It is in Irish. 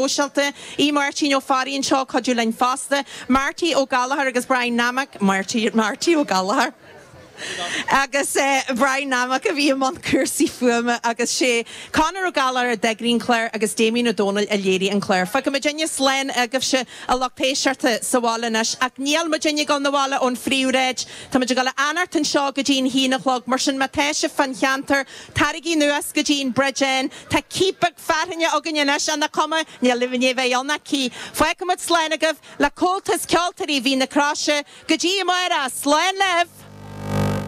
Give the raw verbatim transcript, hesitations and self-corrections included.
Sóisialta, í Máirtín Ó Fearraigh anseo cuidiú linn fosta, Marty Ó Gallchóir agus Brian Nammock, Marty Marty Ó Gallchóir. Agus eh, Brian Nammock a bhí i mbun cúrsaí fuaime agus sé Conor Ó Gallchóir a d'eagraigh an clár agus Damien Ó Dónaill a léirigh an clár. Fágfaidh muidinne slán agaibhse a lucht éisteachta sa bhaile anois ach níl muidinne ag dul 'na bhaile ón phríomhshráid Tá muid ag dul a fhanacht anseo go dtí an haon a chlog mar sin má tá sibh fán cheantar taraigí anuas go dtí an Bridge Inn Tá cíp beag fearthainne againn anois an cuma níl libh bheith ann cí. Fágfaimid slán agaibh le Comhaltas Ceoltóirí Mhín na Croise go dtí amárach slán libh!